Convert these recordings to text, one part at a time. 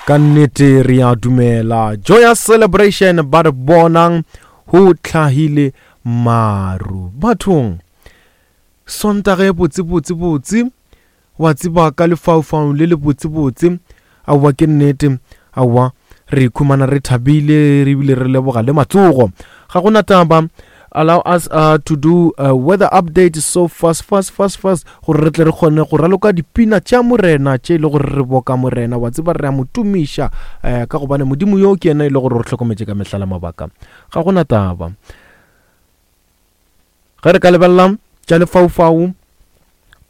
Ka nnete re a dumela. Joyous celebration ba re bonang ho tlhahile maru. Bathong, Sontaga e botse botse botse, wa tseba ka lefaufau le le botse botse. Aowa ke nnete, aowa re ikhumana re thabile re bile re leboga le matsogo. Ga gona taba. Allow us uh, to do a weather update so fast fast fast fast gore re tle re kgone go raloka dipina tša morena tše e le gore re boka morena wa tseba re a mo tumiša um ka gobane modimo yo ke yena e le gore re hlokometše ka mehla la mabaka ga gona taba Ge re ka lebelela tša lefaufau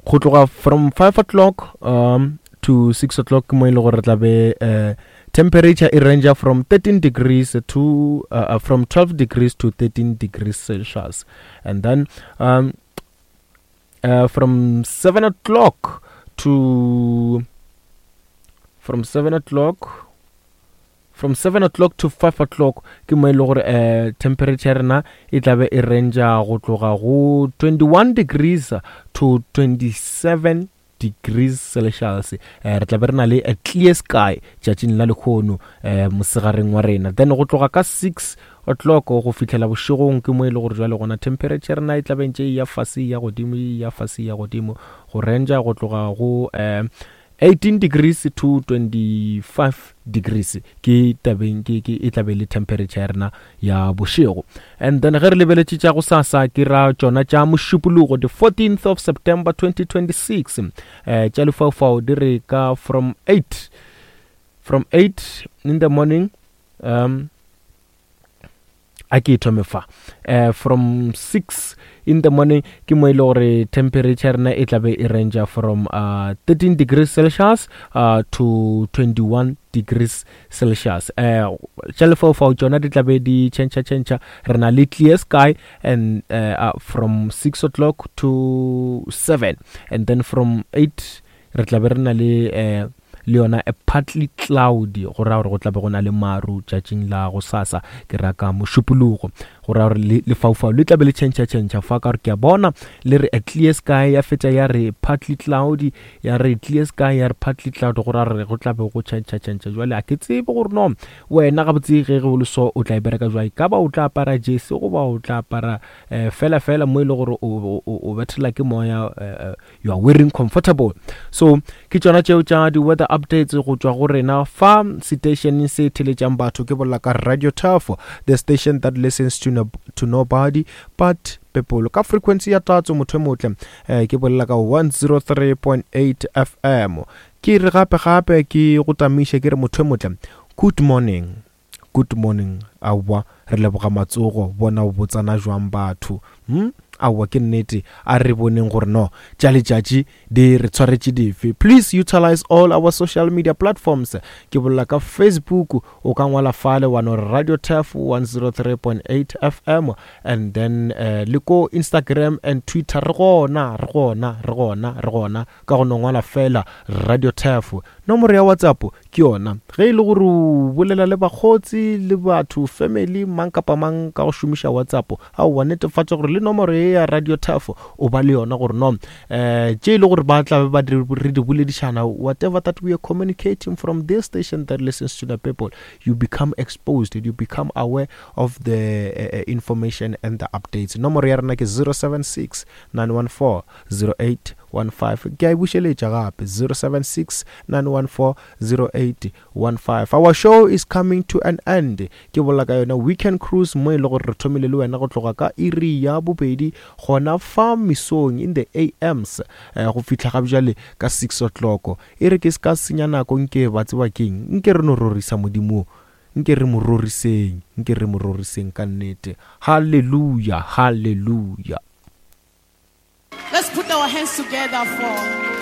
go tloga from 5 o'clock um, to 6 o'clock mo e le gore re tla be uh, temperature e range from 13 degrees to uh, from 12 degrees to 13 degrees celsius and then um, uh, from 7 o'clock to from 7 o'clock From 7 o'clock to 5 o'clock ke mo e le gore um temperature ya rena e tlabe e ranger go tloga go 21 degrees to 27 degrees celsius eh, re tlabe re na le a clear sky tšatšing la lekgono eh, mosegareng wa rena then go tloga ka 6 o'clock go fihlela bošegong ke mo e le gore jwale gona temperature rena e tlabe ntše e ya fase ya godimo e ya fase ya godimo go ranger go tloga go eh, 18 degrees to 25 degrees ke tabeng ke ke e tlabe le temperature ya rena ya bošego and then ge re lebeletše tša go sasa ke ra tšona tša mošupologo the 14th of September 2026 eh tša lefaufau di re ka from 8 from 8 in the morning um a ke e thome fa uh, from 6 in the morning ke mo e le gore temperature rena e tlabe e ranger from uh, 13 degrees celsius uh, to 21 degrees celsius uh, tša lefaufau tšona di tlabe di change change re na le clear sky and uh, uh, from 6 o'clock to 7 and then from 8 re tlabe re na le uh, le yona a partly cloudy go raya gore go tlabe go na le maru tšatšing la go sasa ke ra ka mošupologo go raya gore lefaufau le tlabe le tšhentšha tšhentšha fa ka gore ke a bona le re a clear sky ya fetša ya re partly cloudy ya re clear sky ya re partly cloud go raya gore go tlabe go tšhentšha tšhentšha jwale a ke tsebe gore no wena gabotse ge go le so o tla e bereka jwang ka ba o tla apara jese goba o tla apara um fela fela mo e le gore o bethela ke moya eh, eh, you are wearing comfortable so ke tšona tšeo tša di-weather updates go tšwa go rena fa station se theletšang batho ke bolela ka radio turf the station that listens to, no, to nobody but people ka frequency ya tatso motho e motle eh, ke bolela ka 103.8 fm ke re gape gape ke go tamiše ke re motho e motle good morning Good morning aowa re leboga matsogo bona o botsana jwang batho hm aowa ke nnete a re boneng gore no tša letšatši di re tshwaretše dife please utilize all our social media platforms ke bolela ka facebook o ka ngwala fale wa no radio taf 103.8 fm and then uh, le ko instagram and twitter re gona re gona re gona re gona ka go no ngwala fela radio taf nomoro ya whatsapp Ke yona. Ge e le gore o bolela le bakgotsi le batho, family, mang kapa mang ka go šomiša WhatsApp, aowa netefatša gore le nomoro ye ya Radio Turf o ba le yona gore no um tše e le gore ba tla be ba re di boledišana whatever that we are communicating from this station that listens to the people you become exposed you become aware of the uh, information and the updates nomoro ya rena ke 076 914 08 15 ke a e bušeletša gape 076 914 0815 our show is coming to an end ke bolela ka yona weekend cruise mo e le gore re thomile le wena go tloga ka iri ya bobedi gona fa mesong in the ams eh, go fihla ga bjale ka 6 o'clock e re ke se ka senya nako nke ba tseba keng nke re no rorisa modimo nke re mo roriseng nke re mo roriseng ka nnete halleluja halleluja Let's put our hands together for